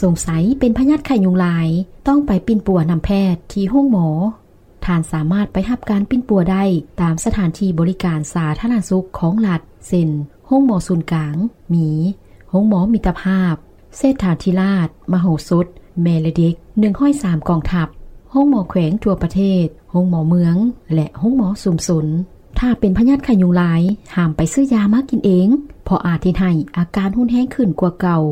ສົງໄສເປັນພະຍາດໄຂ້ຍຸງລາຍ, ຕ້ອງໄປປິ່ນປົວນຳແພດທີ່ໂຮງໝໍ. ທ່ານສາມາດໄປຮັບການປິ່ນປົວໄດ້ຕາມສະຖານທີ່ບໍລິການສາທາລະນະສຸກຂອງລັດ ເຊັ່ນ ໂຮງໝໍສູນກາງ, ມີໂຮງໝໍມິດຕະພາບ, ເສດຖາທິລາດ, ມະໂຫສົດ, ແມ່ ແລະ ເດັກ ໜຶ່ງຮ້ອຍສາມກອງທັບ, ໂຮງໝໍແຂວງທົ່ວປະເທດ, ໂຮງໝໍເມືອງ ແລະ ໂຮງໝໍຊຸມຊົນ. ຖ້າເປັນພະຍາດໄຂ້ຍຸງລາຍ, ຫ້າມໄປຊື້ຢາມາກິນເອງ, ເພາະອາດເຮັດໃຫ້ອາການຮຸນແຮງຂຶ້ນກວ່າເກົ່າ.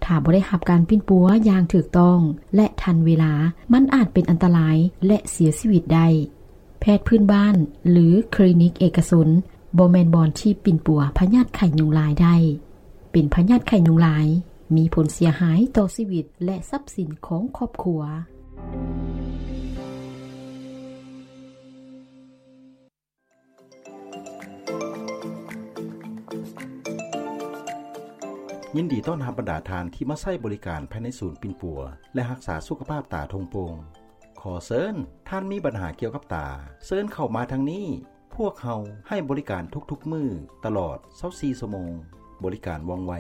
ຖ້າບໍ່ໄດ້ຮັບການປິ່ນປົວຢ່າງຖືກຕ້ອງ ແລະ ທັນເວລາ, ມັນອາດເປັນອັນຕະລາຍ ແລະ ເສຍຊີວິດໄດ້. ແພດພື້ນບ້ານ ຫຼື ຄລີນິກເອກະຊົນ ບໍ່ແມ່ນບ່ອນທີ່ປິ່ນປົວພະຍາດໄຂ້ຍຸງລາຍໄດ້. ເປັນພະຍາດໄຂ້ຍຸງລາຍ ມີຜົນເສຍຫາຍຕໍ່ຊີວິດ ແລະ ຊັບສິນຂອງຄອບຄົວ. ຍິນດີຕ້ອນຮັບບັນດາທ່ານທີ່ມາໃຊ້ບໍລິການພາຍໃນສູນປິ່ນປົວ ແລະ ຮັກສາສຸຂະພາບຕາທົ່ງໂປ່ງ. ຂໍເຊີນ, ທ່ານມີບັນຫາກ່ຽວກັບຕາ, ເຊີນເຂົ້າມາທາງນີ້. ພວກເຮົາໃຫ້ບໍລິການທຸກໆມື້ຕະຫຼອດຊາວສີ່ຊົ່ວໂມງ. ບໍລິການວ່ອງໄວ,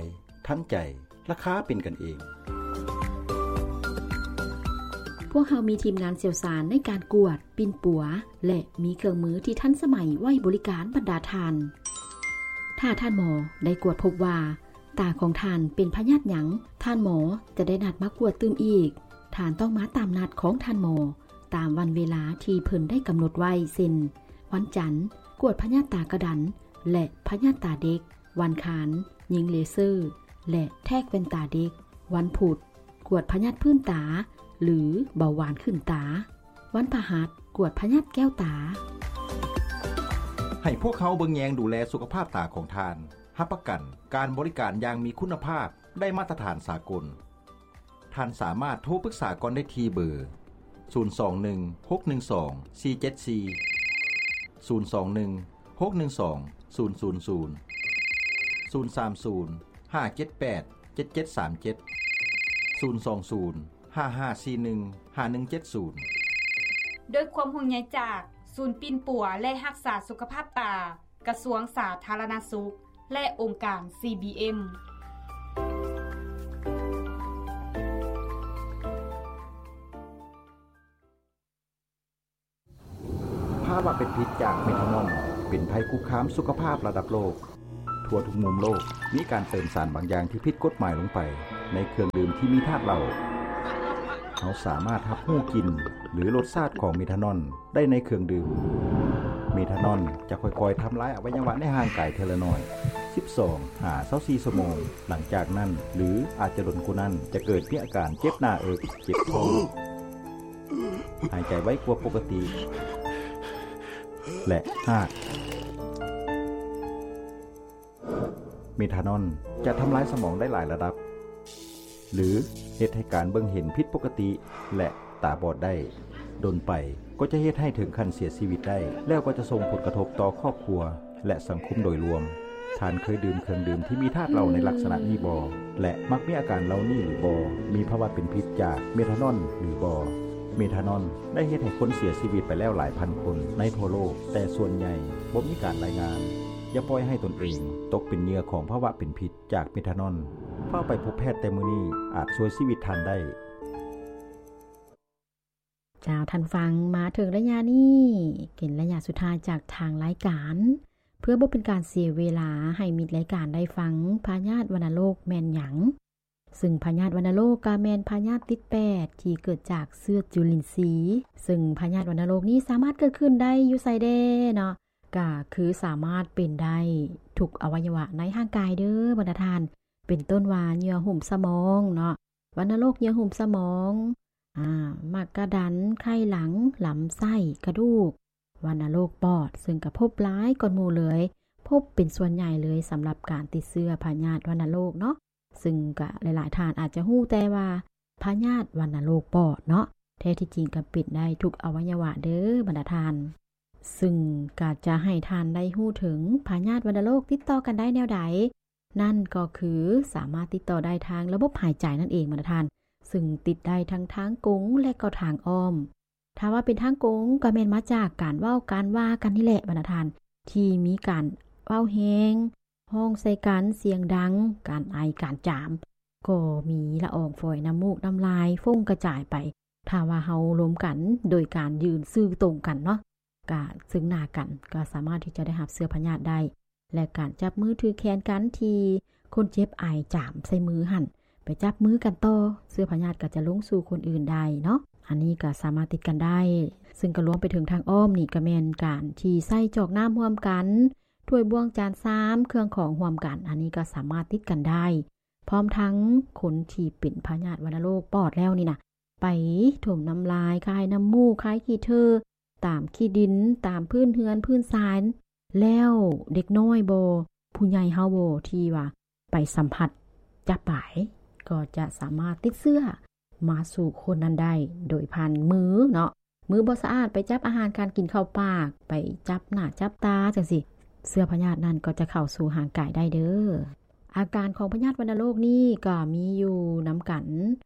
ທັນໃຈ, ລາຄາເປັນກັນເອງ. ພວກເຮົາມີທີມງານຊ່ຽວຊານໃນການກວດ, ປິ່ນປົວ ແລະ ມີເຄື່ອງມືທີ່ທັນສະໄໝໄວ້ບໍລິການບັນດາທ່ານ. ຖ້າທ່ານໝໍໄດ້ກວດພົບວ່າຕາຂອງທ່ານເປັນພະຍາດຫຍັງ, ທ່ານໝໍຈະໄດ້ນັດມາກວດຕື່ມອີກ. ທ່ານຕ້ອງມາຕາມນັດຂອງທ່ານໝໍ ຕາມວັນເວລາທີ່ເພິ່ນໄດ້ກຳນົດໄວ້ ເຊັ່ນ ວັນຈັນ ກວດພະຍາດຕາກະດັນ ແລະ ພະຍາດຕາເດັກ, ວັນຄານ ຍິງເລເຊີ ແລະ ແທກແວ່ນຕາເດັກ, ວັນພຸດ ກວດພະຍາດພື້ນຕາ ຫຼື ເບົາຫວານຂຶ້ນຕາ, ວັນພະຫັດ ກວດພະຍາດແກ້ວຕາ. ໃຫ້ພວກເຮົາເບິ່ງແຍງດູແລສຸຂະພາບຕາຂອງທ່ານ. ຮັບປະກັນການບໍລິການຢ່າງມີຄຸນນະພາບ, ໄດ້ມາດຕະຖານສາກົນ. ທ່ານສາມາດໂທປຶກສາກ່ອນໄດ້ທີ່ເບີ ສູນສອງໜຶ່ງ ຫົກໜຶ່ງສອງ ສີ່ເຈັດສີ່, ສູນສອງໜຶ່ງ ຫົກໜຶ່ງສອງ ສູນສູນສູນ, ສູນສາມສູນ ຫ້າເຈັດແປດ ເຈັດເຈັດສາມເຈັດ, ສູນສອງສູນ ຫ້າຫ້າສີ່ໜຶ່ງ ຫ້າໜຶ່ງເຈັດສູນ. ດ້ວຍຄວາມຫ່ວງໃຍຈາກສູນປິ່ນປົວ ແລະ ຮັກສາສຸຂະພາບຕາ ກະຊວງສາທາລະນະສຸກ ແລະ ອົງການ ຊີບີເອັມ. ພາວະເປັນພິດຈາກເມທານອນ ເປັນໄພຄຸກຄາມສຸຂະພາບລະດັບໂລກ. ທົ່ວທຸກມຸມໂລກ ມີການເຕີມສານບາງຢ່າງທີ່ຜິດກົດໝາຍລົງໄປໃນເຄື່ອງດື່ມທີ່ມີທາດເຫຼົ້າ. ເຮົາສາມາດຮັບຮູ້ກິ່ນ ຫຼື ລົດຊາດຂອງເມທານອນ ໄດ້ໃນເຄື່ອງດື່ມ. ເມທານອນຈະຄ່ອຍໆທຳລາຍອະໄວຍະວະໃນຮ່າງກາຍເທື່ອລະໜ້ອຍ ສິບສອງຫາຊາວສີ່ຊົ່ວໂມງ. ຫຼັງຈາກນັ້ນ ຫຼື ອາດຈະດົນກວ່ານັ້ນ ຈະເກີດມີອາການເຈັບໜ້າເອິກ, ເຈັບທ້ອງ, ຫາຍໃຈໄວກວ່າປົກກະຕິ ແລະ ຮາກ. ເມທານອນຈະທຳລາຍສະໝອງໄດ້ຫຼາຍລະດັບ ຫຼື ເຮັດໃຫ້ການເບິ່ງເຫັນຜິດປົກກະຕິ ແລະ ຕາບອດໄດ້. ດົນໄປກໍຈະເຮັດໃຫ້ເຖິງຂັ້ນເສຍຊີວິດໄດ້ ແລ້ວກໍຈະສົ່ງຜົນກະທົບຕໍ່ຄອບຄົວ ແລະ ສັງຄົມໂດຍລວມ. ທ່ານເຄີຍດື່ມເຄື່ອງດື່ມທີ່ມີທາດເຫຼົ້າໃນລັກສະນະນີ້ບໍ່ ແລະ ມັກມີອາການເຫຼົ່ານີ້ຫຼືບໍ່? ມີພາວະເປັນພິດຈາກເມທານອນຫຼືບໍ່? ເມທານອນໄດ້ເຮັດໃຫ້ຄົນເສຍຊີວິດໄປແລ້ວຫຼາຍພັນຄົນໃນທົ່ວໂລກ, ແຕ່ສ່ວນໃຫຍ່ບໍ່ມີການລາຍງານ. ຢ່າປ່ອຍໃຫ້ຕົນເອງຕົກເປັນເຫຍື່ອຂອງພາວະເປັນພິດຈາກເມທານອນ. ຟ້າວໄປພົບແພດແຕ່ມື້ນີ້ອາດຊ່ວຍຊີວິດທ່ານໄດ້. ເຈົ້າ, ທ່ານຟັງ, ມາເຖິງໄລຍະນີ້ ເປັນໄລຍະສຸດທ້າຍຈາກທາງລາຍການ. ເພື່ອບໍ່ເປັນການເສຍເວລາ, ໃຫ້ມິດລາຍການໄດ້ຟັງ ພະຍາດວັນນະໂລກແມ່ນຫຍັງ? ຊຶ່ງພະຍາດວັນນະໂລກກະແມ່ນພະຍາດຕິດແປດທີ່ເກີດຈາກເຊື້ອຈຸລິນຊີ. ຊຶ່ງພະຍາດວັນນະໂລກນີ້ສາມາດເກີດຂຶ້ນໄດ້ຢູ່ໃສແດ່ເນາະ? ກະຄືສາມາດເປັນໄດ້ທຸກອະໄວຍະວະໃນຮ່າງກາຍເດີບັນດາທ່ານ, ເປັນຕົ້ນວ່າເຫຍື່ອຫຸ້ມສະໝອງເນາະ, ວັນນະໂລກເຫຍື່ອຫຸ້ມສະໝອງ, ອາ, ໝາກກະດັນ, ໄຂ່ຫຼັງ, ລຳໄສ້, ກະດູກ, ວັນນະໂລກປອດ, ຊຶ່ງກະພົບຫຼາຍກ່ອນໝູ່ເລີຍ, ພົບເປັນສ່ວນໃຫຍ່ເລີຍສຳລັບການຕິດເຊື້ອພະຍາດວັນນະໂລກເນາະ. ຊຶ່ງກະຫຼາຍໆທ່ານອາດຈະຮູ້ແຕ່ວ່າພະຍາດວັນນະໂລກປອດເນາະ, ແທ້ທີ່ຈິງກະເປັນໄດ້ທຸກອະໄວຍະວະເດີບັນດາທ່ານ. ຊຶ່ງກະຈະໃຫ້ທ່ານໄດ້ຮູ້ເຖິງພະຍາດວັນນະໂລກຕິດຕໍ່ກັນໄດ້ແນວໃດ? ນັ້ນກໍຄືສາມາດຕິດຕໍ່ໄດ້ທາງລະບົບຫາຍໃຈນັ້ນເອງບັນດາທ່ານ, ຊຶ່ງຕິດໄດ້ທັງທາງກົງ ແລະ ກໍທາງອ້ອມ. ຖ້າວ່າເປັນທາງກົງ ກໍແມ່ນມາຈາກການເວົ້າການວ່າກັນນີ້ແຫຼະບັນດາທ່ານ, ທີ່ມີການເວົ້າແຮງ, ຮ້ອງໃສ່ກັນສຽງດັງ, ການໄອ, ການຈາມ, ກໍມີລະອອງຝອຍ ນ້ຳມູກ ນ້ຳລາຍ ຟົ້ງກະຈາຍໄປ. ຖ້າວ່າເຮົາລົມກັນໂດຍການຢືນຊື່ຕົງກັນເນາະ ກະເຊິ່ງໜ້າກັນ ກໍສາມາດທີ່ຈະໄດ້ຮັບເຊື້ອພະຍາດໄດ້. ແລະ ການຈັບມືຖືແຂນກັນທີ່ຄົນເຈັບອາຍຈາມໃສ່ມືຫັ້ນ ໄປຈັບມືກັນຕໍ່ ເຊື້ອພະຍາດກໍຈະລົງສູ່ຄົນອື່ນໄດ້ເນາະ. ອັນນີ້ກໍສາມາດຕິດກັນໄດ້ ເຊິ່ງກໍລວມໄປເຖິງທາງອ້ອມນີ້ ກໍແມ່ນການທີ່ໃຊ້ຈອກນ້ຳຮ່ວມກັນ, ຖ້ວຍບ່ວງຈານຊາມ, ເຄື່ອງຂອງຮ່ວມກັນ ອັນນີ້ກໍສາມາດຕິດກັນໄດ້. ພ້ອມທັງຄົນທີ່ເປັນພະຍາດວັນນະໂລກປອດແລ້ວນີ້ນະ ໄປຖົມນ້ຳລາຍ, ຄາຍນ້ຳມູກ, ຄາຍຂີ້ເທີ ຕາມຂີ້ດິນ, ຕາມພື້ນເຮືອນ, ພື້ນຊານ ແລ້ວເດັກນ້ອຍບໍ, ຜູ້ໃຫຍ່ເຮົາບໍ ທີ່ວ່າໄປສຳຜັດ ຈັບປາຍ ກໍຈະສາມາດຕິດເຊື້ອມາສູ່ຄົນນັ້ນໄດ້ ໂດຍຜ່ານມືເນາະ. ມືບໍ່ສະອາດ ໄປຈັບອາຫານການກິນເຂົ້າປາກ, ໄປຈັບໜ້າຈັບຕາຈັ່ງຊີ້ ເຊື້ອພະຍາດນັ້ນກໍຈະເຂົ້າສູ່ຮ່າງກາຍໄດ້ເດີ້. ອາການຂອງພະຍາດວັນນະໂລກນີ້ກໍມີຢູ່ນຳກັນ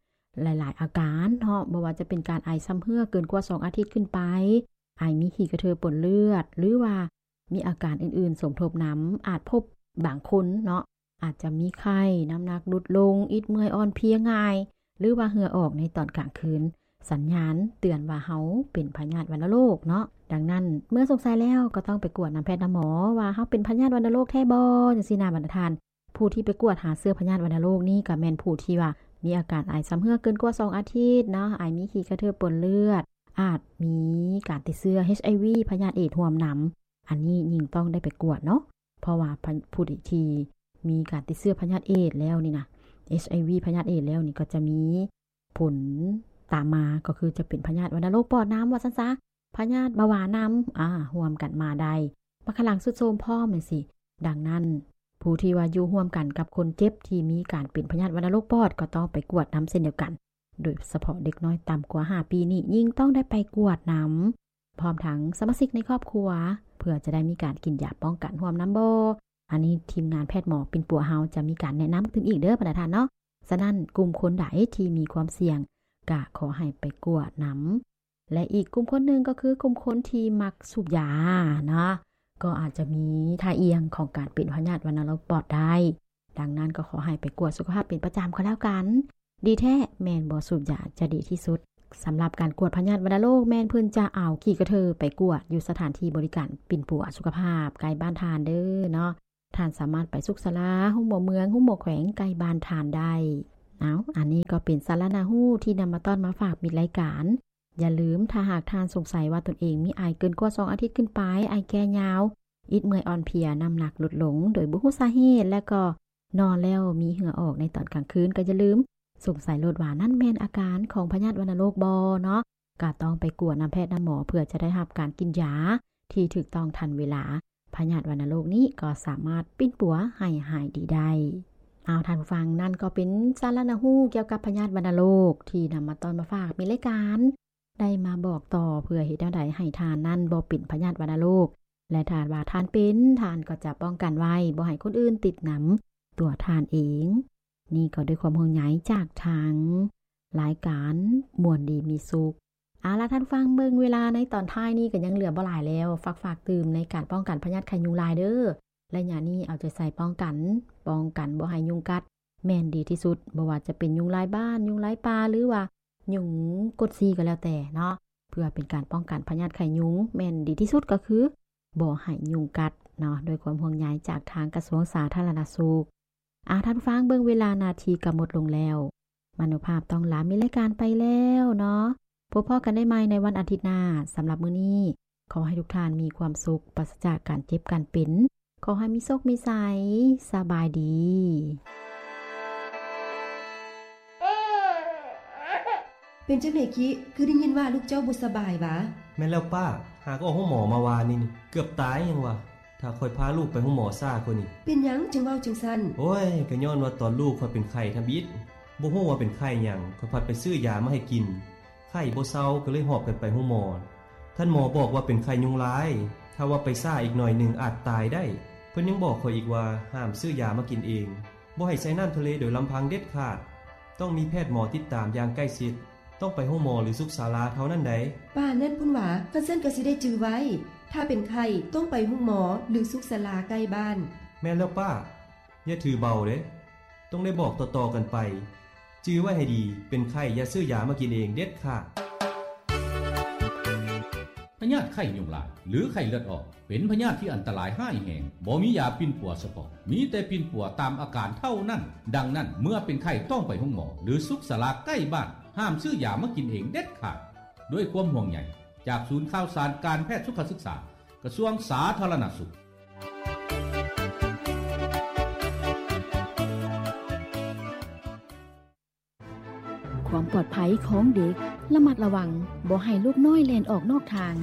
ຫຼາຍໆອາການເນາະ, ບໍ່ວ່າຈະເປັນການໄອຊຳເຮື້ອເກີນກວ່າສອງອາທິດຂຶ້ນໄປ, ໄອມີຂີ້ກະເທີປົນເລືອດ ຫຼືວ່າມີອາການອື່ນໆສົມທົບນຳ, ອາດພົບບາງຄົນເນາະ ອາດຈະມີໄຂ້, ນ້ຳໜັກຫຼຸດລົງ, ອິດເມື່ອຍອ່ອນເພຍງ່າຍ ຫຼືວ່າເຫື່ອອອກໃນຕອນກາງຄືນ, ສັນຍານເຕືອນວ່າເຮົາເປັນພະຍາດວັນນະໂລກເນາະ. ດັ່ງນັ້ນ ເມື່ອສົງໄສແລ້ວກໍຕ້ອງໄປກວດນຳແພດນຳໝໍວ່າເຮົາເປັນພະຍາດວັນນະໂລກແທ້ບໍ່ ຈັ່ງຊີ້ນະບັນດາທ່ານ. ຜູ້ທີ່ໄປກວດຫາເຊື້ອພະຍາດວັນນະໂລກນີ້ກໍແມ່ນຜູ້ທີ່ວ່າມີອາການໄອຊຳເຮື້ອເກີນກວ່າສອງອາທິດເນາະ, ໄອມີຂີ້ກະເທີປົນເລືອດ, ອາດມີການຕິດເຊື້ອ ເອັດໄອວີ ພະຍາດເອດຮ່ວມນຳ. ອັນນີ້ຍິ່ງຕ້ອງໄດ້ໄປກວດເນາະ ເພາະວ່າ ພະ ຜູ້ທີ່ມີການຕິດເຊື້ອພະຍາດເອດແລ້ວນີ້ນະ ເອັດໄອວີ ພະຍາດເອດແລ້ວນີ້ ກໍຈະມີຜົນຕາມມາ ກໍຄືຈະເປັນພະຍາດວັນນະໂລກປອດນຳ ວ່າຊັ້ນຊະ, ພະຍາດເບົາຫວານນຳ ອາ ຮ່ວມກັນມາໄດ້, ບັກຂະຫຼັງຊຸດໂຊມພ້ອມຈັ່ງຊີ້. ດັ່ງນັ້ນ ຜູ້ທີ່ວ່າຢູ່ຮ່ວມກັນກັບຄົນເຈັບທີ່ມີການເປັນພະຍາດວັນນະໂລກປອດ ກໍຕ້ອງໄປກວດນຳເຊັ່ນດຽວກັນ, ໂດຍສະເພາະເດັກນ້ອຍຕ່ຳກວ່າຫ້າປີນີ້ ຍິ່ງຕ້ອງໄດ້ໄປກວດນຳ. ພ້ອມທັງສະມາຊິກໃນຄອບຄົວ ເພື່ອຈະໄດ້ມີການກິນຢາປ້ອງກັນຮ່ວມນຳບໍ? ອັນນີ້ທີມງານແພດໝໍປິ່ນປົວເຮົາຈະມີການແນະນຳຕື່ມອີກເດີ້ບັນດາທ່ານເນາະ. ສະນັ້ນ ກຸ່ມຄົນໃດທີ່ມີຄວາມສ່ຽງ ກະຂໍໃຫ້ໄປກວດນຳ. ແລະ ອີກກຸ່ມຄົນໜຶ່ງກໍຄືກຸ່ມຄົນທີ່ມັກສູບຢາເນາະ, ກໍອາດຈະມີທ່າອ່ຽງຂອງການເປັນພະຍາດວັນນະໂລກປອດໄດ້. ດັ່ງນັ້ນກໍຂໍໃຫ້ໄປກວດສຸຂະພາບເປັນປະຈຳກໍແລ້ວກັນ. ດີແທ້ແມ່ນບໍ່ສູບຢາຈະດີທີ່ສຸດ. ສຳລັບການກວດພະຍາດວັນນະໂລກ ແມ່ນເພິ່ນຈະເອົາຂີ້ກະເທີໄປກວດຢູ່ສະຖານທີ່ບໍລິການປິ່ນປົວສຸຂະພາບໃກ້ບ້ານທ່ານເດີ້ເນາະ. ທ່ານສາມາດໄປສຸກສາລາໂຮງໝໍເມືອງ, ໂຮງໝໍແຂວງໃກ້ບ້ານທ່ານໄດ້. ເອົາ, ອັນນີ້ກໍເປັນສາລະໜ້າຮູ້ທີ່ນຳມາຕ້ອນມາຝາກມິດລາຍການ. ຢ່າລືມ, ຖ້າຫາກທ່ານສົງໄສວ່າຕົນເອງມີໄອເກີນກວ່າສອງອາທິດຂຶ້ນໄປ, ໄອແກ້ຍາວ, ອິດເມື່ອຍອ່ອນເພຍ, ນ້ຳໜັກຫຼຸດລົງໂດຍບໍ່ຮູ້ສາເຫດ ແລະ ກໍ ນອນແລ້ວມີເຫື່ອອອກໃນຕອນກາງຄືນ ກໍຢ່າລືມສົງໄສໂລດວ່ານັ້ນແມ່ນອາການຂອງພະຍາດວັນນະໂລກບໍເນາະ, ກໍຕ້ອງໄປກວດນຳແພດນຳໝໍ ເພື່ອຈະໄດ້ຮັບການກິນຢາທີ່ຖືກຕ້ອງທັນເວລາ. ພະຍາດວັນນະໂລກນີ້ກໍສາມາດປິ່ນປົວໃຫ້ຫາຍດີໄດ້. ເອົາ ທ່ານຜູ້ຟັງ, ນັ້ນກໍເປັນສາລະໜ້າຮູ້ກ່ຽວກັບພະຍາດວັນນະໂລກທີ່ນຳມາຕ້ອນມາຝາກມີລາຍການ. ໄດ້ມາບອກຕໍ່ເພື່ອເຮັດແນວໃດໃຫ້ທ່ານນັ້ນບໍ່ເປັນພະຍາດວັນນະໂລກ ແລະ ຖ້າວ່າທ່ານເປັນ, ທ່ານກໍຈະປ້ອງກັນໄວ້ ບໍ່ໃຫ້ຄົນອື່ນຕິດນຳຕົວທ່ານເອງ. ນີ້ກໍດ້ວຍຄວາມຫ່ວງໃຍຈາກທາງລາຍການມ່ວນດີມີສຸກ. ເອົາລະ ທ່ານຟັງເບິ່ງເວລາໃນຕອນທ້າຍນີ້ກໍຍັງເຫຼືອບໍ່ຫຼາຍແລ້ວ, ຝາກ, ຝາກຕື່ມໃນການປ້ອງກັນພະຍາດໄຂ້ຍຸງລາຍເດີ້. ໄລຍະນີ້ເອົາໃຈໃສ່ປ້ອງກັນ, ປ້ອງກັນບໍ່ໃຫ້ຍຸງກັດ ແມ່ນດີທີ່ສຸດ, ບໍ່ວ່າຈະເປັນຍຸງລາຍບ້ານ, ຍຸງລາຍປ່າ ຫຼືວ່າຍຸງກົດສີກໍແລ້ວແຕ່ເນາະ, ເພື່ອເປັນການປ້ອງກັນພະຍາດໄຂ້ຍຸງ ແມ່ນດີທີ່ສຸດກໍຄືບໍ່ໃຫ້ຍຸງກັດເນາະ, ດ້ວຍຄວາມຫ່ວງໃຍຈາກທາງກະຊວງສາທາລະນະສຸກ. ອາ ທ່ານຜູ້ຟັງ, ເບິ່ງເວລານາທີກໍໝົດລົງແລ້ວ, ມະໂນພາບຕ້ອງລາມີລາຍການໄປແລ້ວເນາະ. ພົບພໍ້ກັນໄດ້ໃໝ່ໃນວັນອາທິດໜ້າ. ສຳລັບມື້ນີ້ ຂໍໃຫ້ທຸກທ່ານມີຄວາມສຸກ, ປາສະຈາກການເຈັບການເປັນ. ຂໍໃຫ້ມີໂຊກມີໄຊ. ສະບາຍດີ. ເປັນຈັ່ງໃດຄິ? ຄືໄດ້ຍິນວ່າລູກເຈົ້າບໍ່ສະບາຍຫວາ? ແມ່ນແລ້ວປ້າ, ຫາກອອກໂຮງໝໍມາວານນີ້ ເກືອບຕາຍຍັງວ່າ. ຖ້າຂ້ອຍພາລູກໄປໂຮງໝໍຊ້າກວ່ານີ້. ເປັນຫຍັງຈຶ່ງເວົ້າຈັ່ງຊັ້ນ? ໂອ້ຍ, ກໍຍ້ອນວ່າຕອນລູກຂ້ອຍເປັນໄຂ້ທຳອິດ, ບໍ່ຮູ້ວ່າເປັນໄຂ້ຫຍັງ, ຂ້ອຍພັດໄປຊື້ຢາມາໃຫ້ກິນ. ໄຂ້ບໍ່ເຊົາ ກໍເລີຍຫອບກັນໄປໂຮງໝໍ. ທ່ານໝໍບອກວ່າເປັນໄຂ້ຍຸງລາຍ, ຖ້າວ່າໄປຊ້າອີກໜ້ອຍໜຶ່ງອາດຕາຍໄດ້. ເພິ່ນຍັງບອກຂ້ອຍອີກວ່າ ຫ້າມຊື້ຢາມາກິນເອງ, ບໍ່ໃຫ້ໃສ່ນ້ຳທະເລໂດຍລຳພັງເດັດຂາດ, ຕ້ອງມີແພດໝໍຕິດຕາມຢ່າງໃກ້ຊິດ, ຕ້ອງໄປໂຮງໝໍ ຫຼື ສຸກສາລາເທົ່ານັ້ນໃດ. ປານນັ້ນພຸ້ນຫວາ? ຄັນຊັ້ນກໍຊິໄດ້ຈື່ໄວ້, ຖ້າເປັນໄຂ້ຕ້ອງໄປໂຮງໝໍ ຫຼື ສຸກສາລາໃກ້ບ້ານ. ແມ່ນແລ້ວປ້າ, ຢ່າຖືເບົາເດ້. ໂຕ ຕ້ອງໄດ້ບອກຕໍ່ໆກັນໄປ. ຈື່ໄວ້ໃຫ້ດີ, ເປັນໄຂ້ຢ່າຊື້ຢາມາກິນເອງເດັດຂາດ. ພະຍາດໄຂ້ຍຸງລາຍ ຫຼື ໄຂ້ເລືອດອອກ ເປັນພະຍາດທີ່ອັນຕະລາຍຮ້າຍແຮງ, ບໍ່ມີຢາປິ່ນປົວສະເພາະ, ມີແຕ່ປິ່ນປົວຕາມອາການເທົ່ານັ້ນ. ດັ່ງນັ້ນ, ເມື່ອເປັນໄຂ້ຕ້ອງໄປໂຮງໝໍ ຫຼື ສຸກສາລາໃກ້ບ້ານ. ຫ້າມຊື້ຢາມາກິນເອງເດັດຂາດ. ດ້ວຍຄວາມຫ່ວງໃຍຈາກສູນຂ່າວສານການແພດສຸຂະສຶກສາ ກະຊວງສາທາລະນະສຸກ. ຄວາມປອດໄພຂອງເດັກ, ລະມັດລະວັງບໍ່ໃຫ້ລູກນ້ອຍແລ່ນອອກນອກທາງ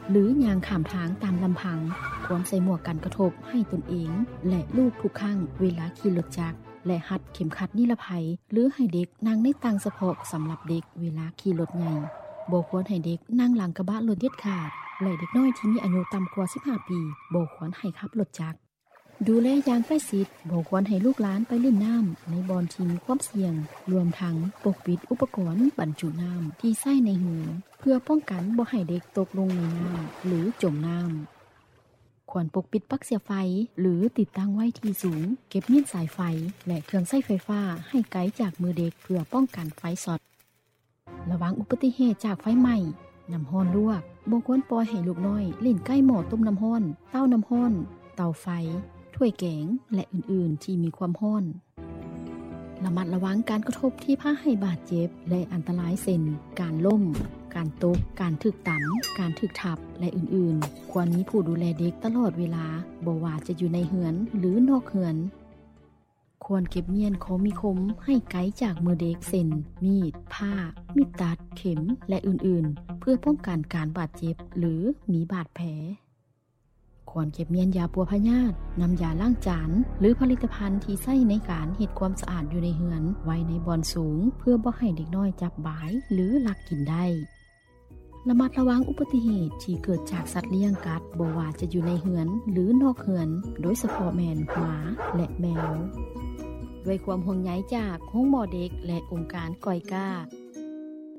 ຫຼື ຍ່າງຂ້າມທາງຕາມລຳພັງ. ຄວນໃສ່ໝວກກັນກະທົບໃຫ້ຕົນເອງ ແລະ ລູກທຸກຄັ້ງເວລາຂີ່ລົດຈັກ ແລະ ຮັດເຂັມຂັດນິລະໄພ ຫຼື ໃຫ້ເດັກນັ່ງໃນຕັ່ງສະເພາະສຳລັບເດັກເວລາຂີ່ລົດໃຫຍ່. ບໍ່ຄວນໃຫ້ເດັກນັ່ງຫຼັງກະບະລົດເດັດຂາດ ແລະ ເດັກນ້ອຍທີ່ມີອາຍຸຕ່ຳກວ່າສິບຫ້າປີ ບໍ່ຄວນໃຫ້ຂັບລົດຈັກ. ດູແລຢ່າງໃກ້ຊິດ, ບໍ່ຄວນໃຫ້ລູກຫຼານໄປຫຼິ້ນນ້ຳໃນບ່ອນທີ່ມີຄວາມສ່ຽງ, ລວມທັງປົກປິດອຸປະກອນບັນຈຸນ້ຳທີ່ໃຊ້ໃນເຮືອນ ເພື່ອປ້ອງກັນບໍ່ໃຫ້ເດັກຕົກລົງໃນນ້ຳ ຫຼື ຈົມນ້ຳ. ຄວນປົກປິດປັກເສຍໄຟ ຫຼື ຕິດຕັ້ງໄວ້ທີ່ສູງ, ເກັບມ້ຽນສາຍໄຟ ແລະ ເຄື່ອງໃຊ້ໄຟຟ້າໃຫ້ໄກຈາກມືເດັກ ເພື່ອປ້ອງກັນໄຟຊັອດ. ລະວັງອຸບັດຕິເຫດຈາກໄຟໄໝ້, ນ້ຳຮ້ອນລວກ. ບໍ່ຄວນປ່ອຍໃຫ້ລູກນ້ອຍຫຼິ້ນໃກ້ໝໍ້ຕົ້ມນ້ຳຮ້ອນ, ເຕົ້ານ້ຳຮ້ອນ, ເຕົາໄຟ, ຖ້ວຍແກງ ແລະ ອື່ນໆທີ່ມີຄວາມຮ້ອນ. ລະມັດລະວັງການກະທົບທີ່ພາໃຫ້ບາດເຈັບ ແລະ ອັນຕະລາຍ ເຊັ່ນ ການລົ້ມ, ການຕົກ, ການຖືກຕຳ, ການຖືກທັບ ແລະ ອື່ນໆ. ຄວນມີຜູ້ດູແລເດັກຕະຫຼອດເວລາ, ບໍ່ວ່າຈະຢູ່ໃນເຮືອນ ຫຼື ນອກເຮືອນ. ຄວນເກັບມ້ຽນຂອງມີຄົມໃຫ້ໄກຈາກມືເດັກ ເຊັ່ນ ມີດ, ພ້າ, ມີດຕັດ, ເຂັມ ແລະ ອື່ນໆ ເພື່ອປ້ອງກັນການບາດເຈັບ ຫຼື ມີບາດແຜ. ຄວນເກັບມ້ຽນຢາປົວພະຍາດ, ນ້ຳຢາລ້າງຈານ ຫຼື ຜະລິດຕະພັນທີ່ໃຊ້ໃນການເຮັດຄວາມສະອາດຢູ່ໃນເຮືອນໄວ້ໃນບ່ອນສູງ ເພື່ອບໍ່ໃຫ້ເດັກນ້ອຍຈັບບາຍ ຫຼື ລັກກິນໄດ້. ລະມັດລະວັງອຸບັດຕິເຫດທີ່ເກີດຈາກສັດລ້ຽງກັດ, ບໍ່ວ່າຈະຢູ່ໃນເຮືອນ ຫຼື ນອກເຮືອນ, ໂດຍສະເພາະແມ່ນໝາ ແລະ ແມວ. ດ້ວຍຄວາມຫ່ວງໃຍຈາກໂຮງໝໍເດັກ ແລະ ອົງການກອຍກາ.